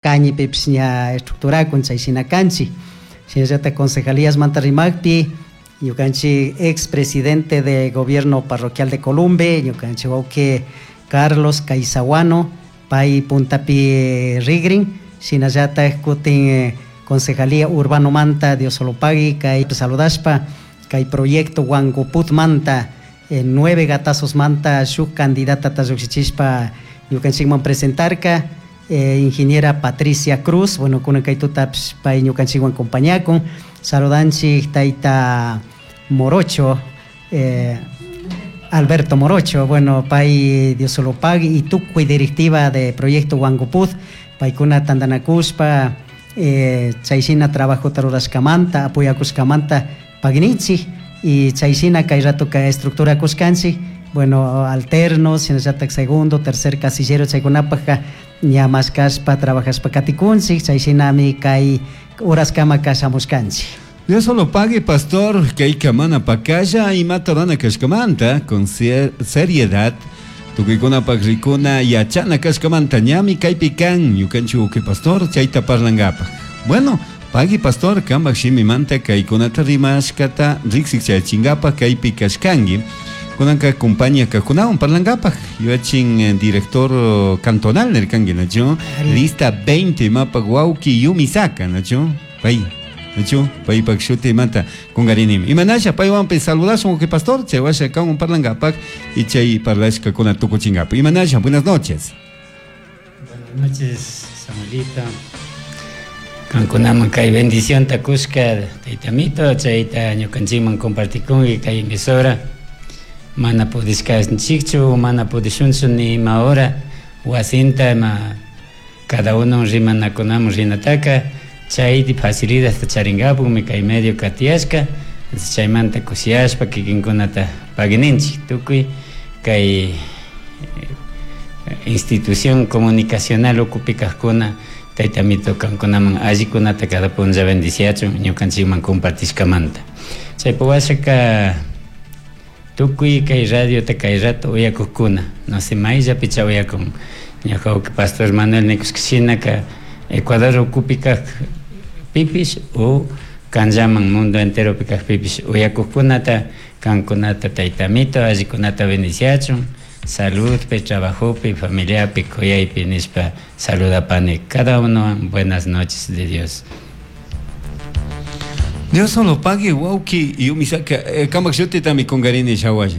Cañipipish ña estructurakun chay shina kanchik. Shinallatak concejalíasmanta rimakpi ñukanchik ex presidente de gobierno parroquial de Columbe, ñukanchik wawki Carlos Caizahuano, pay puntapi rigrin, shinallatak kutin concejalía urbanomanta Diosolopagui kay saludashpa kay proyecto Huangoputmanta nueve gatazosmanta shuk candidatata llukshichishpa ñukanchikman presentarka, ingeniera Patricia Cruz, bueno, kunan kay tutapish pay ñukanchikwan compañakun. Saludanchik tayta Morocho, Alberto Morocho, bueno, pay Diosolopagui y tukuy directiva de Proyecto Huangoput, paykuna tantanakushpa chay shina trabajota rurashkamanta, apoyakushkamanta pagninchik y chay shina kay ratoka estructura kushkanchik, bueno, alternos, shinallatak segundo, tercer casillero chaykunapajka ña mashkashpa trabajashpa katikunchik, chay shinami kay horaskama kashamushkanchik. Dios solo pague, pastor, kayka mana pakalla imata rurana kashkamanta, con seriedad, tukuykunapak rikuna yachana kashkamanta ñami kaypi kan ñukanchik wawqi pastor chayta parlankapaj. Bueno, pagui pastor, kampak shimimanta kaykunata rimashkata riksik chayachinkapak kaypi kashkanki. Kunanka compañía kajkunawan parlankapaj yuyachin director cantonal nirkanki, nachu? Lista 20 mapak wawki Yumisaka, nachu? Pay, nachu? Paypak shutimanta kungarinimi. Imanasha paywanpi saludashun wawqi pastor, chay washa kanwan parlankapaj y chay parlashkakuna tukuchinkapaj. Imanasha, buenas noches. Buenas noches, Samuelito. Kankunaman kay bendición ta kushka taytamito, chayta ñukanchikman compartikunki kay emisora. Mana pudishkanchikchu, mana pudishunchu ni ima hora wasinta ima cada uno rimanakunaman rinataka, chay facilidadta charinkapukmi kay medio katiyashka. Entonces, chaymanta kushiyashpa kikinkunata pagininchik tukuy kay institución comunicacional ukupi kajkuna taytamito kankunaman allikunata cada punlla bendiciachun ñukanchikman compartishkamanta. Chaypa washaka tukuy kay radiota kay rato uyakukuna, no sé mayllapi cha uyakun. Ñuka wawqi pastor Manuel nikushka shinaka Ecuador ukupi kaj pipish o kanllaman mundo enteropi kaj pipish uyakukunata kankunata taytamito allikunata bendiciachun, saludpi, trabajopi, familiapi, kuyaypi nishpa saludapani. Cada uno buenas noches de Dios. Dios solo pague, wawqi Yumisaka, kamak shutitami kungarini shawalla.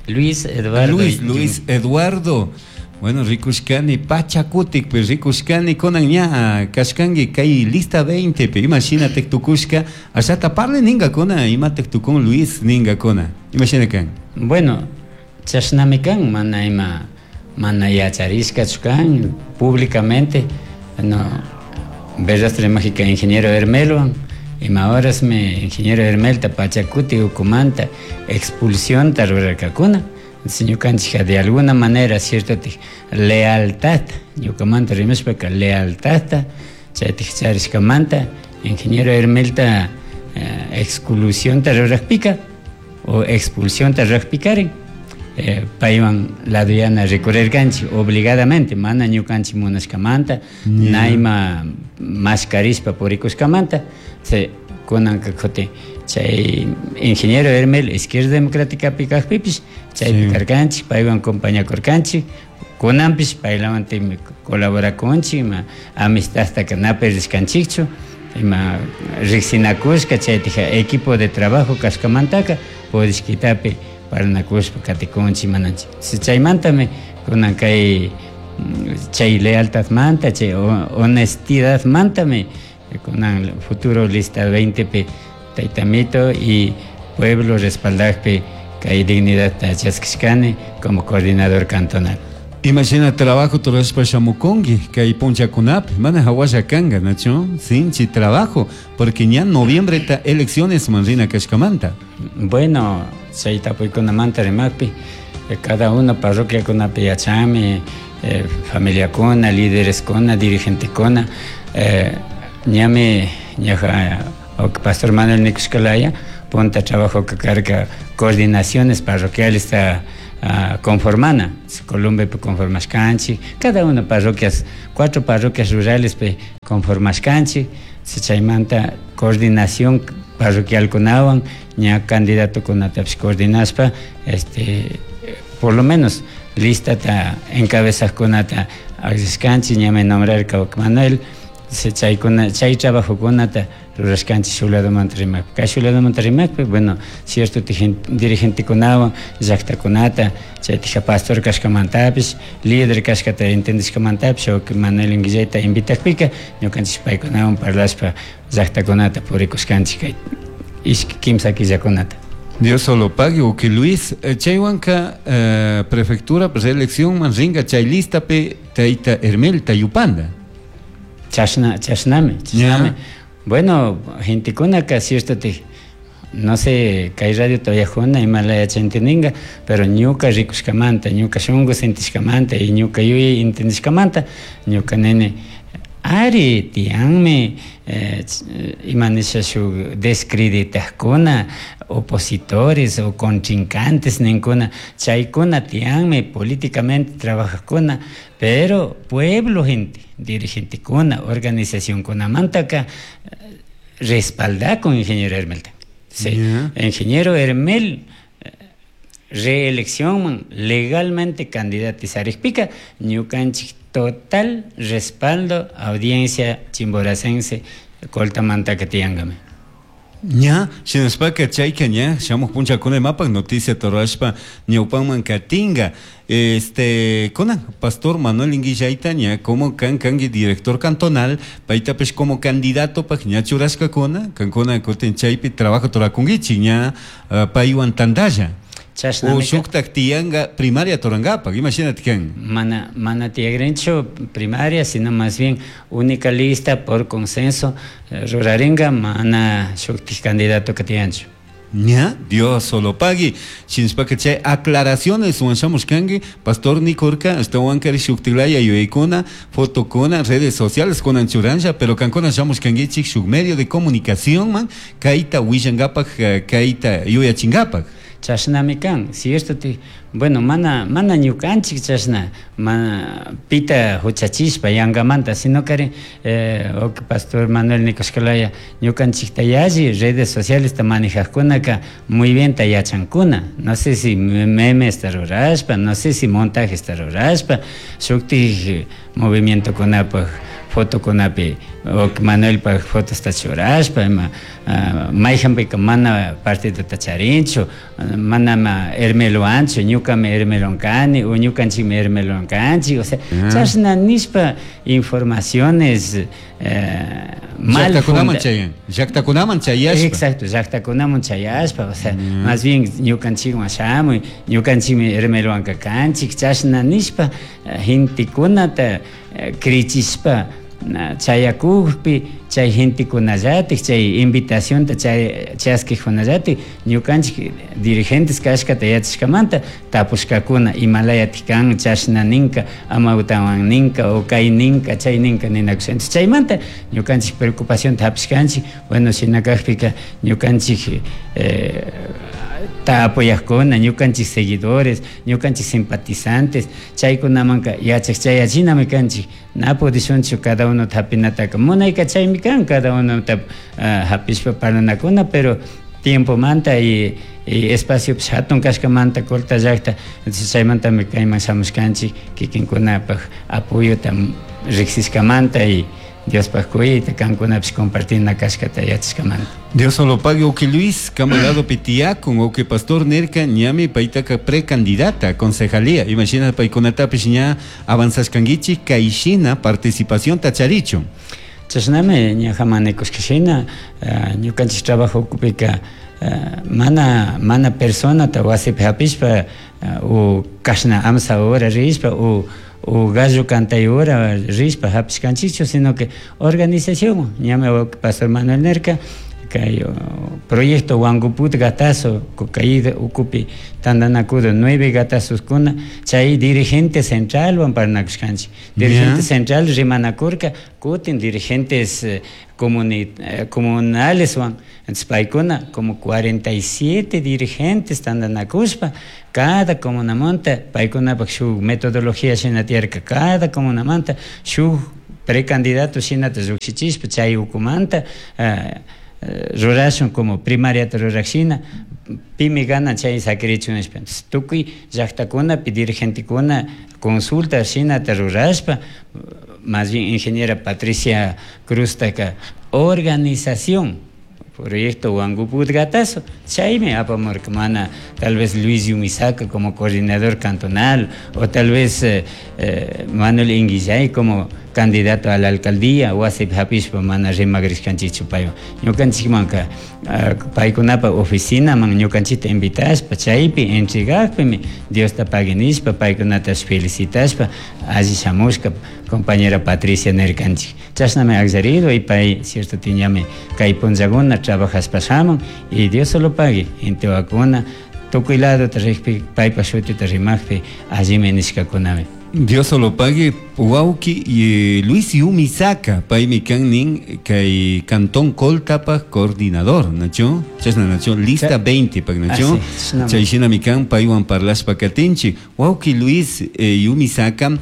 Luis Eduardo. Luis, Luis Eduardo. Bueno, rikushkani Pachakutikpi, rikushkani kunan ña kashkanki kay lista 20 pi, ima shinatik tukushka, ashata parle ningakuna, imatik tukun Luis ningakuna, ima shina kan? Bueno, chashnami kan, mana ima, mana yacharishkachu kan, públicamente, no, Berrastre Mágica ingeniero Hermelwan, ima horasmi ingeniero Hermelta Pachakuti ukumanta expulsionta rurarkakuna. Entonces, ñukanchika de alguna manera, cierto, lealtad, ñukamanta rimashpaka lealtadta, chaytik charishkamanta, ingeniero Hermelta exclusionta rurajpika o expulsionta rurajpikarin, paywan laduyana recorrerkanchik obligadamente, mana ñukanchik munashkamanta, nayma mashkarishpa purikushkamanta, se kunanka kutin chay ingeniero Hermel Izquierda Democrática kajpipish, chaypi karkanchik, paywan compañakurkanchik, kunanpish paylawan colaborakunchik, ima amistadtaka na perdishkanchikchu, ima riksinakushka chaytija equipo de trabajo kashkamantaka pudishkitapi parlanakushpa katikunchik mananchik. Chaymantami kunan kay chay lealtadmanta, chay honestidadmantami kunan futuro lista 20 pi taytamito y pueblo respaldajpi kay dignidadta chaskishkani como coordinador cantonal. Imagina trabajo turashpa shamukunki kay punchakunapi, mana hawasha kanka, nachu? Sinchi trabajo, porque ña noviembre ta elecciones man rina kashkamanta. Bueno, chay tapuykunamanta rimakpi, cada uno parroquiakunapi yachami, familiakuna, lídereskuna, dirigentekuna, ñami ñaja pastor Manuel nikushkalaya, punta trabajo que carga coordinaciones parroquiales ta Conformana, Columbepi conformashkanchik, cada una parroquias, cuatro parroquias rurales pi conformashkanchik, chaymanta coordinación parroquialkunawan ña candidatokunatapish coordinashpa, por lo menos listata encabezajkunata akllashkanchik, ñami nombrarka Manuel, chaykuna chay trabajokunata rurashkanchik shuk ladomanta rimakpi. Kay shuk ladomanta rimakpi, bueno, cierto dirigentekunawan llaktakunata chaytija pastor kashkamantapish, líder kashkata entendishkamantapish, Manuel Inguillayta invitakpika ñukanchik paykunawan parlashpa llaktakunata purikushkanchik kay ishki kimsa killakunata. Dios solo pague, uki Luis, chaywanka prefectura reelección man ringa chay listapi tayta Hermel tayupanda. Chashna, chashnami, chashnami. Bueno, gentekunaka cierto te, no sé, kay radio todavía juna imalaya entendinga, pero ñuka rikushkamanta, ñuka shunku sentishkamanta y ñuka yuyay entendishkamanta, ñuka nene ari tiyanmi ima nisha shuk descreditajkuna, opositores o contrincantes ninkuna, chaykuna tiyanmi políticamente trabajajkuna, pero pueblo gente, dirigentekuna, organizacionkunamantaka respaldakun ingeniero Hermelta. Sí. Ingeniero Hermel reelección legalmente candidatizarikpika ñukanchik total respaldo audiencia chimboracense coltamantaka tiyankami. Ña, shinashpaka chayka ña, shamuj punchakuna imapak noticia torashpa ñawpanman katinga. Kunan, Pastor Manuel Inguillayta ña, como kan kanki director cantonal, paytapish como candidato pak ña churashkakuna, kankuna kutin chaypi trabajo torakunkichik ña, paywan tantalla. Chashnami O shuktak tiyanga primaria torangapak, imagínate kan. Mana, mana tiyagrinchu primaria, sino más bien única lista por consenso, ruraringa, mana shuktik candidato que tiyanchu. Ña, Dios solo pague. Shinshpaka chay aclaraciones wanshamos kanki, Pastor Nicorca, hasta wankari shuktilaya yuyaykuna, fotokuna, redes sociales kunan churanja, pero kankuna shamos kankichik shuk medio de comunicación man, kayta willangapak, kayta yuyachingapak. Chashnami kan, cierto ti, bueno, mana, mana ñukanchik chashna, mana pita huchachishpa yangamanta, sino que ok, Pastor Manuel Nicoshkalaya, ñukanchikta yalli redes sociales ta manejajkunaka muy bien ta yachankuna, no sé si memes ta rurashpa, no sé si montajes ta rurashpa, shuktik movimiento kunapaj fotokunapi, ok, Manuelpaj fotos ta churashpa, ima, mayhanpika mana partido ta charinchu, mana ma Hermeloanchu, ñukami Hermelon kani, o ñukanchikmi Hermelon kanchik, o sea, chashna nishpa informaciones, mal Llaktakunaman funda- chayan, llaktakunaman chayashpa. Exacto, llaktakunaman chayashpa, o sea, más bien ñukanchikwan shamuy, ñukanchikmi Hermeloanka kanchik, chashna nishpa, gentekunata, krichishpa, na, chayakukpi, chay gentekunallatik, chay invitacionta chay chaskijkunallatik, ñukanchik dirigentes kashkata yachashkamanta tapushkakuna imalayatik kan, chashna ninka, amawtawan ninka, o kay ninka, chay ninka ninakusha. Entonces, chaymanta ñukanchik preocupacionta hapishkanchik, bueno, shina kakpika ñukanchik, ta apoyajkuna, ñukanchik seguidores, ñukanchik simpatizantes, chaykunamanka yachak chayachinami kanchik, na pudishunchu cada uno hapinataka, munayka chaymi kan, cada uno hapishpa parlanakuna, pero tiempomanta y espacio pues, hatun kashkamanta Colta llakta, entonces chaymantami kayman shamushkanchik, kikinkunapaj apoyota riksishkamanta y Diospaj kuyayta kankunapish compartina kashkata yachashkamanta. Dios solo pague, oke Luis, camarado Pitiacon, oke Pastor Nerka, ñami paitaka precandidata, concejalía. Imagina paikunatapish ña avanzashkankichik kayshina participación tacharicho. Chashnami ña jamanikushkashina, ñukanchik trabajo ukupika, mana, mana personata wasipi hapishpa, o kashna amsa hora rishpa, o gallo cantay hora rishpa hapishkanchikchu, sino que organización, ñami Pastor Manuel Nerka, Kay proyecto Huanguput Gatazo Cocaída ukupi tantanakudo 9 gatazos-kuna chay dirigente centralwan parlanakushkanchik. Dirigente central rimanakurka kutin dirigentes comunaleswan. Entonces paykuna como 47 dirigentes tantanakushpa cada comunamanta paykunapak shuk metodología shina tiyarka, cada comunamanta shuk precandidato shinata llukshichishpa chay ukumanta rurashun como primariata rurakshina pimi gana chay sakirichun nishpa. Entonces tukuy llaktakunapi dirigentekuna consulta shinata rurashpa, más bien ingeniera Patricia Cruztaka organización proyecto Huanguput Gatazo chaymi apamurka, mana tal vez Luis Yumisaka como coordinador cantonal o tal vez Manuel Inguillay como candidato a la alcaldía wasipi hapishpa mana rimagrishkanchikchu paywan. Ñukanchikmanka paykunapa oficinaman ñukanchikta invitashpa chaypi entregakpimi Diosta pagui nishpa paykunatash felicitashpa alli shamushka compañera Patricia nirkanchik. Chashnami akllarido y pay cierto tiñami kay punllakuna trabajashpa shamun y Dios solo pagui intewakuna tukuy ladota rikpi paypa shutita rimakpi allimi nishkakunami. Dios solo pague wawki y Luis Yumisaka paymi kan nin kay Cantón Coltapa coordinador, nacho? Chashna nacho, lista 20 pak nacho? Chay shinami kan paywan parlashpa katinchik. Wawki Luis Yumisaka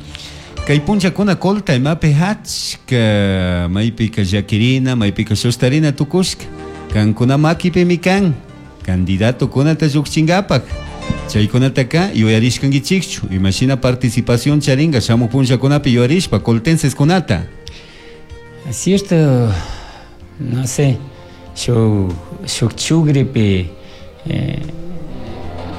kay punllakuna Colta imapi achka maypika llakirina, maypika shustarina tukushka. Kankuna makipimi kan candidato kunata llukchinkapak. Chaykunataka yuyarishkankichikchu, imashina participación charinga shamuq punllakunapi yuyarishpa coltenseskunata. Cierto, no sé, shuk chugripi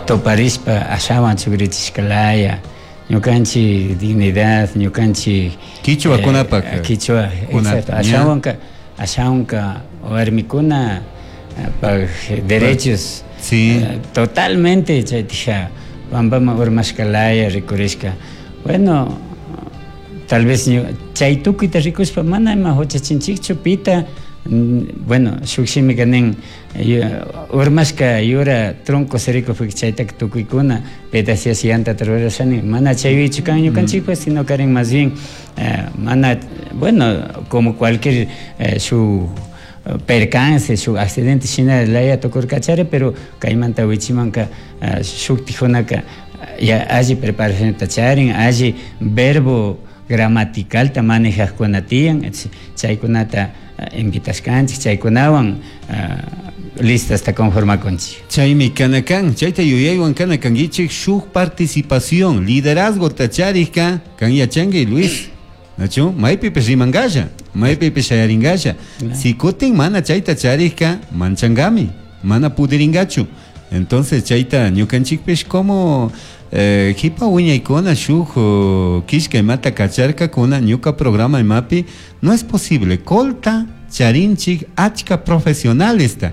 toparishpa ashawan chugrichishkalaya, ñukanchik dignidad, ñukanchik Quichua kunapak. Quichua, exacto, ashawanka warmikuna pag derechos. Sí. Totalmente chaytija pampama urmashkalaya rikurishka. Bueno, tal vez chay tukuyta rikushpa mana ima huchachinchikchu pita, bueno, shuk shimika nin, urmashka yura tronco sirikukpi chaytaka tukuykuna pedacias yantata rurashani, mana chaywichu kan ñukanchikpas, sino karin más bien, mana, bueno, como cualquier shuk percance, shuk accidente shina laya tukurkachari, pero kaymanta wichimanka shuktijunaka ya alli preparacionta charin, alli verbo gramaticalta manejajkuna tiyan, chaykunata invitashkanchik, chaykunawan listasta conformakunchik. Chaymi kanakan, chayta yuyaywan kanakankichik shuk participación, liderazgo tacharikka kan yachanki Luis. Nacho, maypipish rimankalla, maypipish shayaringasha. Si kutin mana chayta charikka manchangami, mana pudiringachu. Entonces chayta ñukanchikpish como jipa wiñaykuna shuk kishka imata kacharkakuna ñuka programa imapi, no es posible. Colta charinchik achka profesionalesta.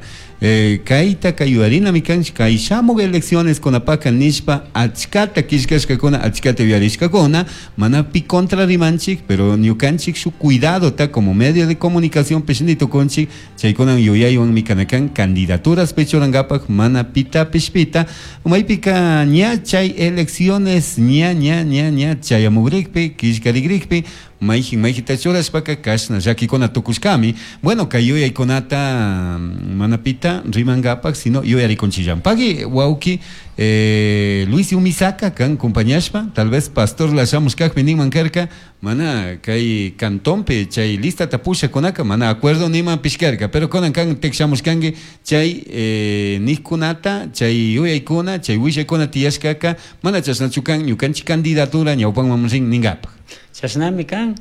Kayta kayuyarinami kanchik, kay shamuk elecciones kunapaka nishpa achkata kishkashkakuna, achkata yuyarishkakuna, mana pi contra rimanchik, pero ñukanchik shuk cuidadota como medio de comunicación pish tukunchik, chaykunan yuyaywanmi kanakan candidaturas pichurankapak mana pita pishpita, maypika ña chay elecciones ña ña ña ña chayamugrikpi, kishkarigrikpi, mayjin mayjita churashpaka kashna llakikuna tukushkami. Bueno, kay yuyaykunata mana pita rimankapak, sino yuyarikunchillan. Pagui wawki Luis Yumisaka kan compañashpa, tal vez pastor la shamushkakpi ninman karka, mana kay cantonpi chay listata pushakunaka mana acuerdo niman pishkarka, pero kunan kan tikshamushkanki chay nijkunata, chay yuyaykuna, chay willaykuna tiyashkaka, mana chashnachu kan ñukanchik candidatura ñawpanman rin ninkapak. Chashnami kan,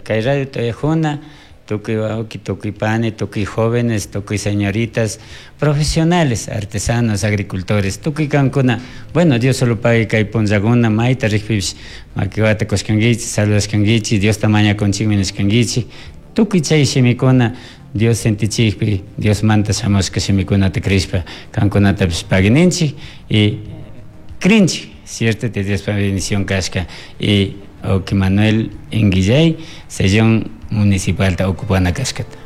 kay radio toyajuna, tukuy wawki, tukuy pani, tukuy jóvenes, tukuy señoritas, profesionales, artesanos, agricultores, tukuy kankuna. Bueno, Dios solo pague kay punllakuna, mayta rikpipish makiwata kushkankichik, saludashkankichik, Diosta mañakunchikmi nishkankichik. Tukuy chay shimikuna Dios sentichikpi, Diosmanta shamushka shimikunata crishpa kankunatapish paguininchik y crinchik, cierto, te Diospa bendición kashka. Y Oki Manuel Inguillay, sellón municipal ta ocupana kashkata.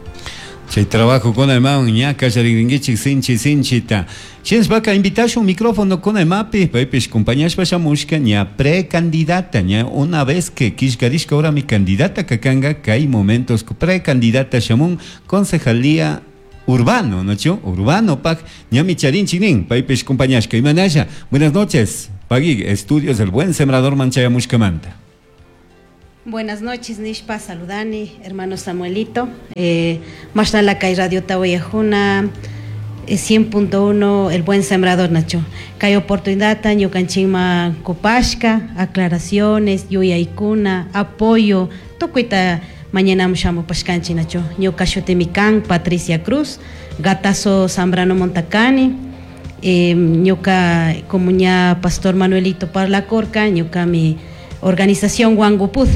Chay trabajo kuna imawan ña kallarrinkichik sinchi sinchita. Shinashpaka invitashun micrófono kuna imapi paypish compañashpa shamushka ña precandidata ña una vez que killkarishka ahora mi candidata kakanga kay momentos precandidata shamun concejalía urbano, ¿no? Urbano pak ñami charinchik nin paypish compañashka imanalla. Buenas noches. Pagui estudios del buen sembrador manchayamushkamanta. Buenas noches, Nishpa, saludani, hermano Samuelito. Mashnala kay Radio Tawayajuna, 100.1, El Buen Sembrador, Nacho. Kay oportunidad, ñukanchikma kupashka, aclaraciones, yuyaykuna, apoyo, tukuyta mañana shamupashkanchik, Nacho. Ñuka shutimi kan, Patricia Cruz, Gatazo Zambrano Montacani, ñuka como ña Pastor Manuelito Parlacorca, ñuka mi organización Huangupud,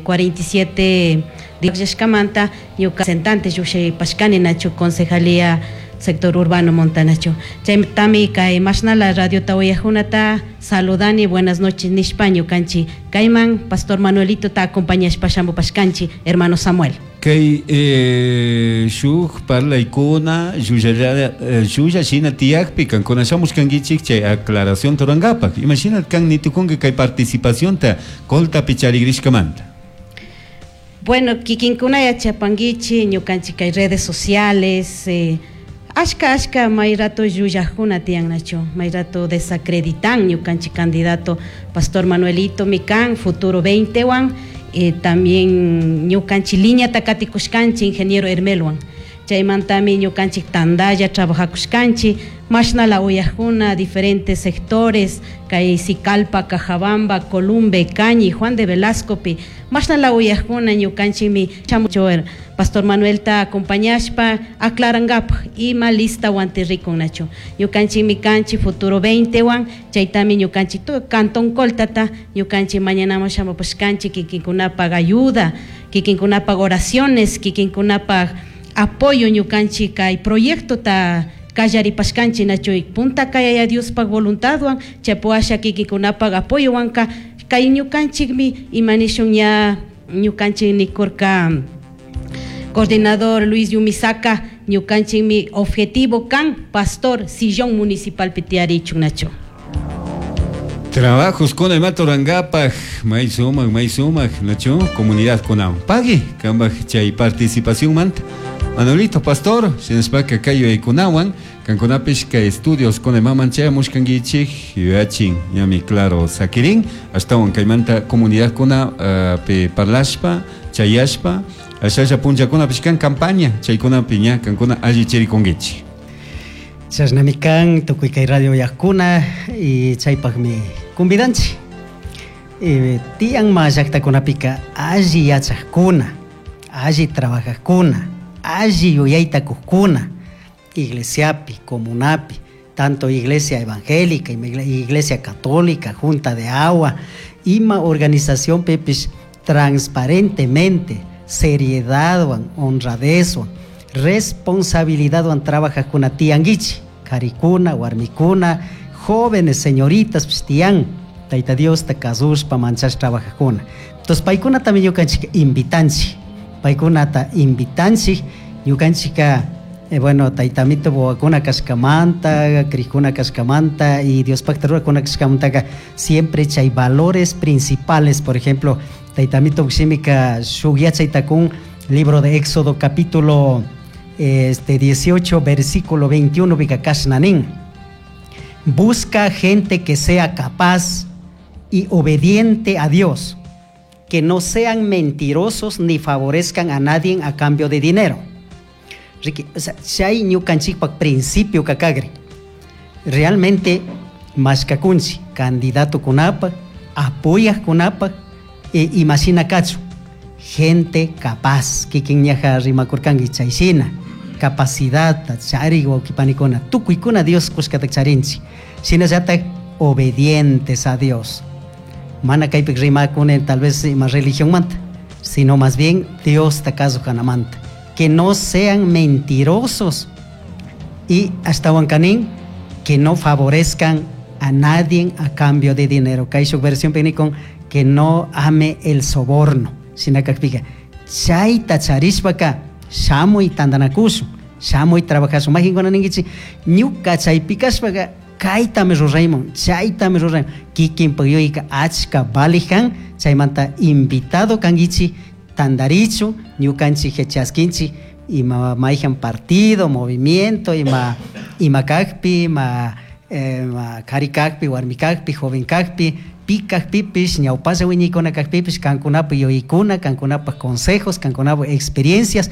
47 Yashkamanta, ñuka representante Yushay Pashkani Nacho, concejalía sector urbano Montanacho. Chay tami kay mashnala Radio Tawayajunata saludani, buenas noches nishpa ñukanchi kayman Pastor Manuelito ta acompañashpa shamupashkanchi, hermano Samuel. Kay shuk parlaykuna llulla shina tiyakpi kankuna shamushkankichik chay aclaración turankapak. Imagina kan nitukunki kay participacionta Coltapi charigrishkamanta. Bueno, kikinkuna yachapankichi ñukanchik kay redes sociales, ashka ashka may rato llullajkuna tiyan nacho, may rato desacreditan ñukanchik candidato Pastor Manuelito mikan futuro 20 wan, también ñukanchik línea takatikushkanchik ingeniero Hermelwan. Chaymantami ñukanchik tandalla trabajakushkanchik, mashnala uyajkuna diferentes sectores, kay Sicalpa, Cajabamba, Columbe, Cañi, Juan de Velascopi, mashnala uyajkuna ñukanchikmi chamucho Pastor Manuel ta acompañashpa aclarangapaj ima lista wantirrikun nacho. Ñukanchikmi kanchik futuro 20 wan, chaytami ñukanchik tu cantón Coltata, ñukanchik mañana shamupashkanchik kikinkunapaj ayuda, kikinkunapaj oraciones, kikinkunapaj apoyo ñukanchik kay proyecto ta kallaripashkanchik nacho, punta kay Diospaj voluntadwan, chaypuasha kikinkunapaj apoyo wanka kay ñukanchikmi imanishun ña ñukanchik nikurka coordinador Luis Yumisaka ñukanchikmi objetivo kan pastor sillón municipal pitiarichun nacho. Trabajos con el Matorangapaj, may sumak, nacho, comunidad con Pagui, kambaj chay participación manta. Manolito Pastor, shinashpaka kay yuyaykunawan, kankunapish kay estudios con el maman chayamushkankichik, yuyachin, ñami claro sakirin, ashtawan kaymanta comunidad kuna pe parlashpa, chayashpa, ashalla punllakunapish kan campaña, chaykunapi ña kankuna alli chirikunkichik. Chashnami kan tukuy kay radio yajkuna y chaypaqmi convidanchik. Tiyan ma llaqtakunapika alli yachaqkuna, alli trabajaqkuna, alli yuyayta kuqkuna, iglesiapi, comunapi, tanto iglesia evangélica, iglesia católica, junta de agua, ima organización pepis transparentemente, seriedad, honradez, responsabilidad trabajaqkuna tiyankichik, karikuna, warmikuna, jóvenes, señoritas, pues, tiyan, Tayta Diosta kasushpa manchash trabajaqkuna. Entonces paykunatami ñukanchik invitanchik, paykunata invitanchik, ñukanchika, bueno, taytamito wawakuna kashkamanta, krikuna kashkamanta y Diospakta rurakuna kashkamantaka siempre chay valores principales, por ejemplo, taytamito shimika shuk yachaytakun libro de Éxodo capítulo 18 versículo 21 bika kashnanin. Busca gente que sea capaz y obediente a Dios, que no sean mentirosos ni favorezcan a nadie a cambio de dinero. Ricky, o sea, chay ñukanchikpak principio kakagri. Realmente mashkakunchi candidato kunapa, apoyaq kunapa, e imagina kachu, gente capaz, kikin ñaja rimakurkanki chayshina, capacidad chari wawqipanikuna, tukuykuna Dios kushkata charinchik, shinallatak obedientes a Dios. Mana kaypik rimakuni tal vez ima religión manta, sino más bien Dios ta kanamanta. Que no sean mentirosos y hasta huancanín, que no favorezcan a nadie a cambio de dinero. Kay shuk versión con que no ame el soborno. Shinakakpika, chayta charishpaka Shamuy tantanakushun, shamuy trabajashun. Mayqinkuna ninkichik ñuka chaypi kashpaka kaytami rurayman, chaytami rurayman. Kikinpak yuyayka achka valij kan, chaymanta invitado kankichik tantarichu, ñukanchik chaskinchik ima mayhan partido, movimiento, ima ima kakpi, ima ima kari kakpi, warmi kakpi, joven kakpi, pi kakpipish, ñawpalla wiñaykuna kakpipish, kankunapak yuyaykuna, kankunapak consejos, kankunapak experiencias.